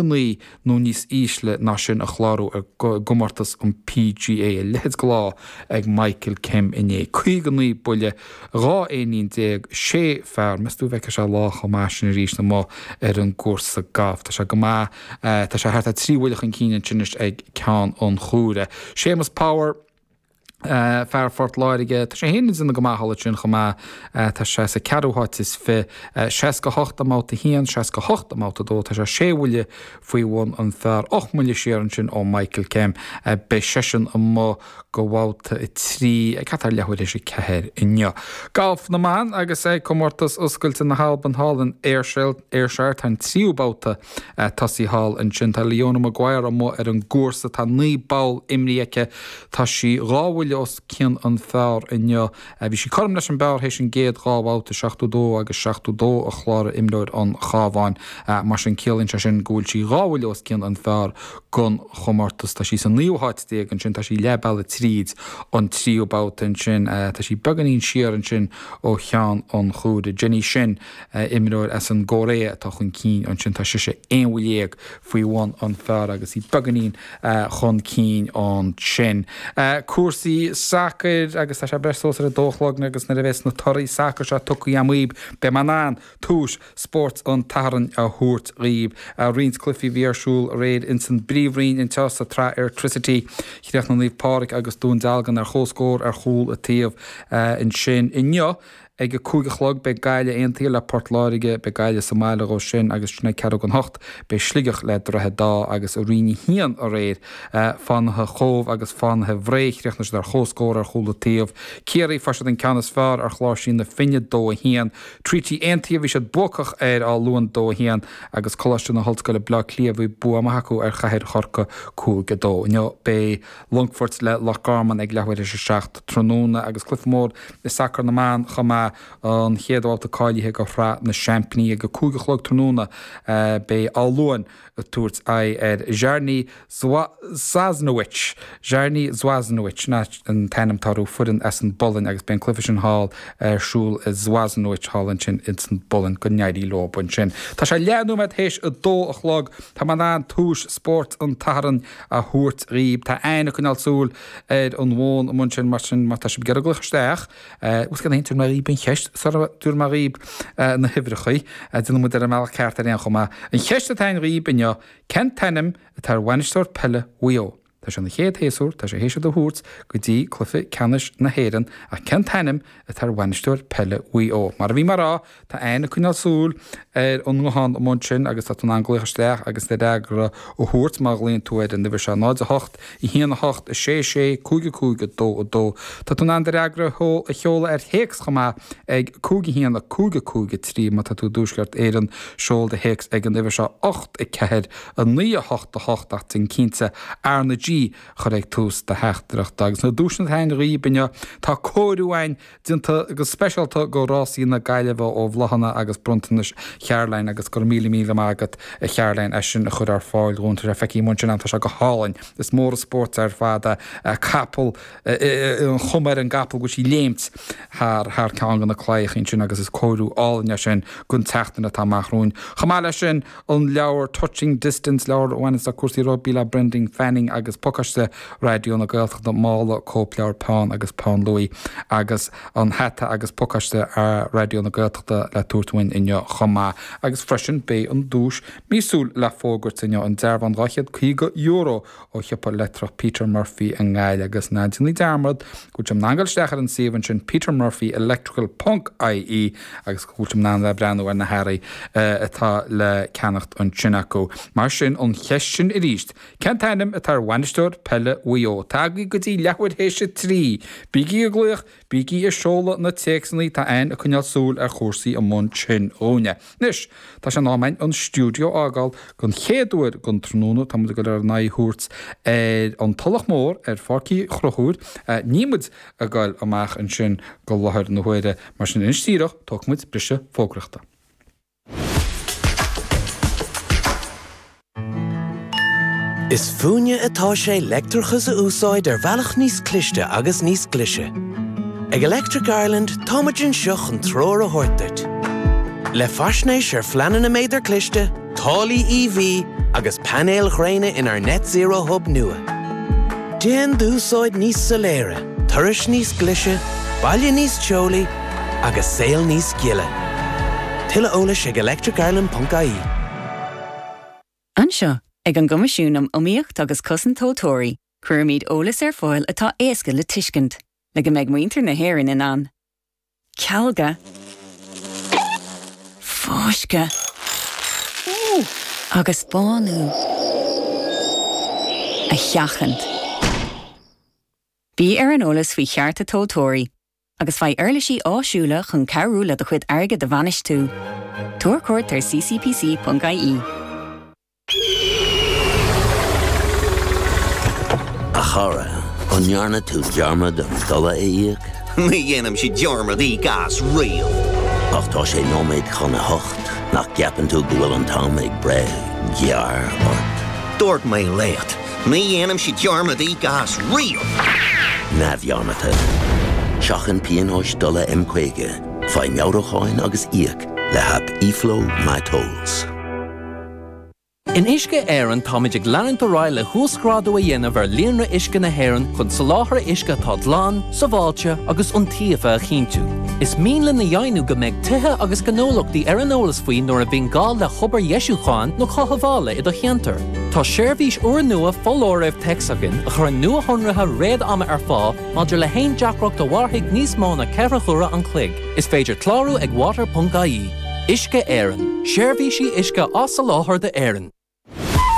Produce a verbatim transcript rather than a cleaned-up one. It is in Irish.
naoi nó níos ísle ná sin a chlárú i gcomórtas an PGA a leithéid de lá ag Michael Kim inné. Caoga naoi buille, dhá éinín déag, sé phar, meas tú an bhfeicfidh sé lá chomh maith sin arís amuigh ar an gcúrsa gailf. Tá sé go maith, tá sé thart ar trí bhuille chun cinn ansin anois ag ceann an chuaire. Séamus Power. Fear Phort Láirge, tá sé féin ag déanamh go maith thall ansin chomh maith. Tá sé sa ceathrú háit is fiche, seasca hocht i mbabhta a haon, seasca hocht i mbabhta a dó. Tá sé sé bhuille faoi bhun an phar, ocht mbuille siar ansin ó Michael Kim. Beidh seisean amuigh go bhabhta a trí ag thart ar leathuair théis a ceathair inniu. Galf na mban agus ag Comórtas Oscailte na hAlban thall in Ayrshire, tá an tríú babhta tosaithe thall ansin. Tá Leona Maguire amuigh ar an gcúrsa. Tá naoi bpoll imrithe aici. Tá sí dhá bhuille os cionn an phar inniu. Bhí sí cothrom leis an bpar théis an gcéad dhá bhabhta, seachtó dó agus seachtó dó a chláraigh imreoir an Chabháin. Mar sin ciallaíonn sé sin go bhfuil sí dhá bhuille os cionn an phar don chomórtas. Tá sí sa naoú háit déag ansin, tá sí leath bealaigh tríd an tríú babhta ansin. Tá sí beagáinín siar ansin ó cheann an chuaire. Jenny Shin, imreoir as an gCóiré atá chun cinn ansin. Tá sise aon bhuille dhéag faoi bhun an phar agus í beagáinín chun cinn ansin. Cúrsaí sacair agus tá sé breis suas ar a dó a chlog agus nuair a bheas na torthaí sacair seo tugtha agam dhaoib beidh mé in ann tomhais spóirt an tSathairn a thabhairt dhaoib. Roinnt cluichí a bhí ar siúl aréir ins an bPríomhroinn anseo sa tsraith Airtricity. Chríochnaigh Naomh Pádraig agus Dún Dealgan ar comhscór ar chúl an taobh ansin inniu. Ag a cúig a chlog beidh Gaillimh Aontaithe le Port Láirge, beidh Gaillimh sa mbaile dhó sin agus ansin ag ceathrú don hocht beidh Sligeach le Droichead Átha agus i Roinn a haon aréir Fánaithe Chóbh agus Fánaithe Bhré chríochnaigh siad ar chomhscór ar chúl an taobh. Ciarraí fuair siad an ceann is fearr ar Chláirsí na Finne dó a haon. Treaty Aontaithe bhí siad buacach ar Áth Luain dó a haon agus Coláiste na hOllscoile Bleá Cliath bhí bua maith acu ar Chathair Chorcaí cúig a dó. Inniu beidh Longfort le Loch Garman ag leathuair théis a seacht tráthnóna agus cluiche mór i sacar na mban chomh maith, an chéad bhabhta cáilithe go Shraith na Seaimpíní ag a cúig a chlog tráthnóna. Beidh Áth Luain ag tabhairt aghaidh ar Czarni Zwasnowicz, Czarni Zwasnowicz, sin an t-ainm atá orthu, foireann as an bPolainn agus beidh an cluiche sin thall ar siúl i Zwasnowicz thall ansin ins an bPolainn. Go n-éirí leo ansin. Tá sé leath nóiméad théis a dó a chlog. Tá mé in ann tomhais spóirt an tSathairn a thabhairt dhaoib. Tá Anne ag coinneáil súil ar an bhfón amuigh ansin mar sin má tá sibh ag iarraidh glaoch isteach, bhuel cén tabharfaidh mé dhaoib an cheist sara dtabharfaidh mé dhaoib na huimhreacha, déanfaidh muid ar an mbealach ceart ar aon chuma. An cheist atá againn dhaoib inniu, cén t-ainm atá ar bhainisteoir peile Mhaigh Eo? Tá sé ina chéad shéasúr, tá sé théis iad a thabhairt go dtí cluiche ceannais na hÉireann ach cén t-ainm atá ar bhainisteoir peile Mhaigh Eo? Mar a bhí mé a rá, tá Anne ag coinneáil súil ar an nguthán amuigh ansin agus tá tú in ann glaoch isteach agus do fhreagra a thabhairt má ghlaonn tú ar an uimhir seo, náid a hocht, a haon a hocht, a sé sé, cúig a cúig, a dó a dó. Tá tú in ann do fhreagra a sheoladh ar théacs chomh maith ag cúig a haon, a cúig a cúig a trí. Má tá tú i dTuaisceart Éireann, seol do théacs ag an uimhir seo, ocht a ceathair, a naoi a hocht a hocht ach déan cinnte R na G a chur ag tús do theachtaireachta. Agus na duaiseanna atá againn dhaoib inniu, tá cóiriú againn déanta go speisialta go Rásaí na Gaillimhe ó Bhláthanna agus Bronntanais Charoline agus go raibh míle míle maith agat a Charoline as sin a chur ar fáil dhúinn. Tá sé feicthe agam ansin tá sé go hálainn. Is mór an spórt ar fad é capall, an chuma ar an gcapall go bhfuil sí ag léimt thar thar ceann de na claíocha ansin agus is cóiriú álainn é sin don tseachtain atá amach romhainn. Chomh maith leis sin, an leabhar Touching Distance, leabhar a bhaineanns le cúrsaí rugbaí le Brendan Fanning agus pacáiste Raidió na Gaeltachta, mála, cóipleabhar, peann agus peann luaidhe agus an hata agus pacáiste Raidió na Gaeltachta le tabhairt uainn inniu chomh maith. Agus freisin beidh an duais míosúil le fógairt inniu, an dearbhán dhá chéad caoga euro ó shiopa leictreach Peter Murphy i nGaillimh agus ná déanaigí dearmad go bhfuil sibh in ann dul isteach ar an suíomh ansin petermurphyelectrical ponc ie agus go bhfuil sibh in ann a bheith ag breathnú ar na hearraí atá le ceannacht ansin acu. Mar sin, an cheist sin arís, cén t-ainm atá ar bhainisteoir peile Mhaigh Eo? Tagaigí go dtí leathuair théis a trí! Bígí ag glaoch, bígí ag seoladh na téacsanna, tá Anne ag coinneáil súil ar chúrsaí amuigh ansin dhúinne. Anois, tá sé in am againn an stiúideo a fhágáil don chéad uair den tráthnóna. Tá muid ag dul ár n-aghaidh a thabhairt ar an Tulach Mhór ar Pháirc Uí Chonchúir. Níl muid ag dul amach ansin go láthair na huaire. Mar sin, anois díreach, tógfaidh muid briseadh fógraíochta. Is fúinne atá sé leictreachas a úsáid ar bhealach níos cliste agus níos glaise. Ag Electric Ireland táimid anseo chun treoir a thabhairt duit. Le faisnéis ar phleananna méadar cliste, táillí EV, Agus painéil ghréine inár Net Zero Hub nua. Déan d'úsáid níos soiléire, turais níos glaise, baile níos teolaí agus saol níos gile. Tuilleadh eolais ag electricireland.ie. Anseo ag an gCoimisiún um Iomaíocht agus Cosaint Tomhaltóirí, cuirimid eolas ar fáil atá éasca le tuiscint, le go mbeidh muintir na hÉireann in ann. Cealga, fáisceadh agus bánú a sheachaint. Bí ar an eolas faoi chearta tomhaltóirí, agus faigh uirlisí áisiúla chun cabhrú le do chuid airgid a bhainistiú. Tabhair cuairt ar ccpc.ie. A chara, an ndearna tú dearmad an dola a íoc? Ní dhéanaimse dearmad íoc as riamh. Ach tá sé nóiméad chun a hocht nach gceapann tú go bhfuil an t-am ag breith gearr ort. Dúirt mé leat, ní dhéanaimse dearmad íoc as riamh. Neamhdhearmadta. Seachain pionóis dola M caoga, faigh meabhrúcháin agus íoc le haip eFlow MyTolls. In Uisce Éireann táimid ag leanúint ar aghaidh le huasghrádú a dhéanamh ar líonra uisce na hÉireann chun soláthar uisce atá glan, sábháilte agus iontaofa a chinntiú. Is mian linn a dheimhniú go mbeidh tithe agus gnólachtaí ar an eolas faoi nuair a bhíonn gá le hobair dheisiúcháin nó cothabhála i do cheantar. Tá seirbhís úrnua foláirimh téacs againn a chuireann nuashonruithe réad-ama ar fáil maidir le haon deacracht a mhairfidh níos mó ná ceithre huaire an chloig. Is féidir clárú ag water.ie. Uisce Éireann, seirbhísí uisce á soláthar d'Éirinn.